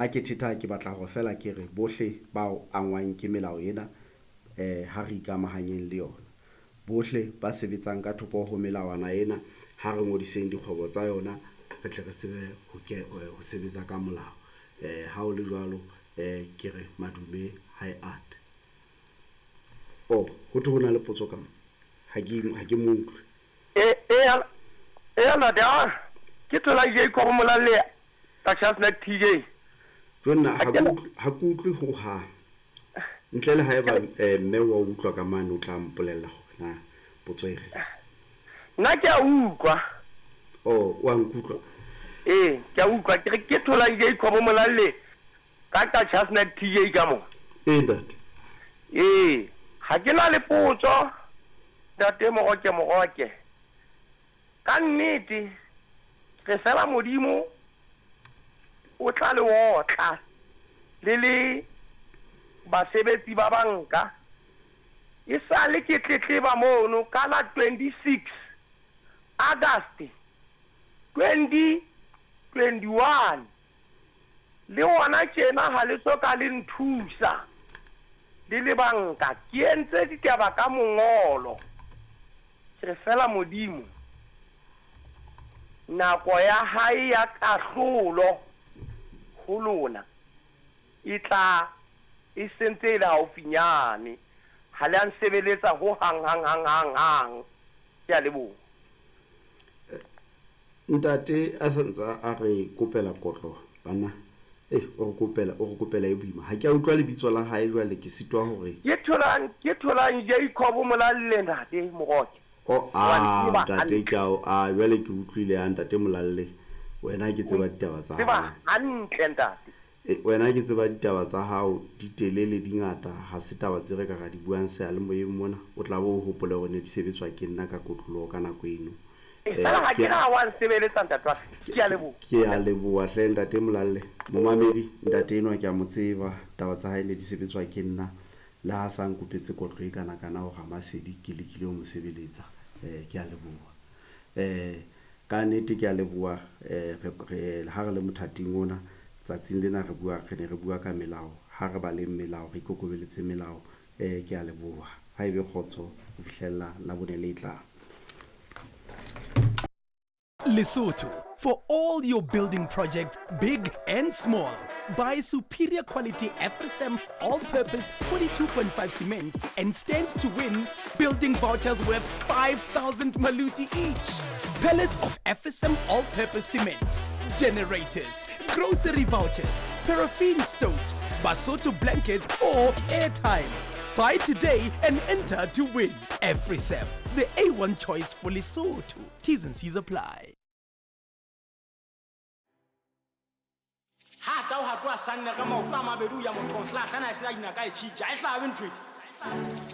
Ha ke thetha ke batla hore feela ke re bohle bao angwang ke melao ena ha re ikamahanyeng le yona. Bohle ba sebetsang ka thoko ho melawana ena ha re ngodiseng dikgwebo tsa yona re tle re tsebe ho sebetsa ka molao. Ha ho le jwalo ke re madume ha e ate. Oh, ho thwe ho na le potso ka mo. Ha ke mo utlwe. Eya, eya ntate, a ke thola Jacob Molalle ka Chestnut TJ. Jo nna ha ke utlwe, ha ke utlwe ho hang. Ntle le haeba mme wa utlwa ka mane o tla mpolella hore na potso e reng. Nna ke a utlwa. Oh, wa nkutlwa? Ee, ke a utlwa. Ke re ke thola Jacob Molalle ka ka Chestnut TJ ka mo. Ee, ntate. Ee, ha ke na le potso. Ntate Moroke Moroke, ka nnete re fela Modimo o tla le otla le le basebetsi ba banka. E sale ke tletleba mono ka la 26 August 2021. Le hona tjena ha le so ka le nthusa le le banka. Ke entse ditaba ka mongolo. Ke re feela Modimo nako ya hae ya kahlolo ho lona e tla e sentse e le haufinyane. Ha le a nsebeletsa ho hang hang hang hang hang. Ke a leboha. Ntate a sa ntse a re kopela kotlo banna. Eh, o re kopela, o re kopela e boima. Ha ke a utlwa lebitso la hae jwale ke sitwa hore. Ke tholang, ke tholang Jacob Molalle ntate Moroke. Oh, ah, ntate ke a, ah, jwale ke utlwile ah, ntate Molalle. Wena ke tseba ditaba tsa hao. Tseba hantle ntate. E, wena ke tseba ditaba tsa hao di telele di ngata, ha se taba tse re ka ra di buang seyalemoyeng mona. O tla bo o hopole hore ne di sebetswa ke nna ka kotloloho ka nako eno. Eh, fela ha ke na wa nsebeletsa ntate wa ke a leboha. Ke a leboha hle ntate Molalle. Momamedi, ntate enwa ke a mo tseba, taba tsa hae ne di sebetswa ke nna. Le ha sa nkopetse kotlo e kana kana ho Ramasedi, ke lekile ho mo sebeletsa. Eh, ke a leboha. Eh, ka nnete ke a leboha eh, re, re, ha re le mothating ona, tsatsing lena re bua, re ne re bua ka melao. Ha re baleng melao, re ikokobeletse melao. Eh, ke a leboha. Ha ebe kgotso ho fihlella Labone le tlang. Lesotho, for all your building projects, big and small. Buy superior quality AfriCem all-purpose 42.5 cement and stand to win building vouchers worth 5,000 maluti each. Pellets of AfriCem all-purpose cement, generators, grocery vouchers, paraffin stoves, Basotho blankets or airtime. Buy today and enter to win. AfriCem, the A1 choice for Lesotho. T's and C's apply. Ha tau ha tloha sanne ka maoto a mabedi ho ya mothong hlahlana e se a dinaka e tjhitja e hlabe ntho e.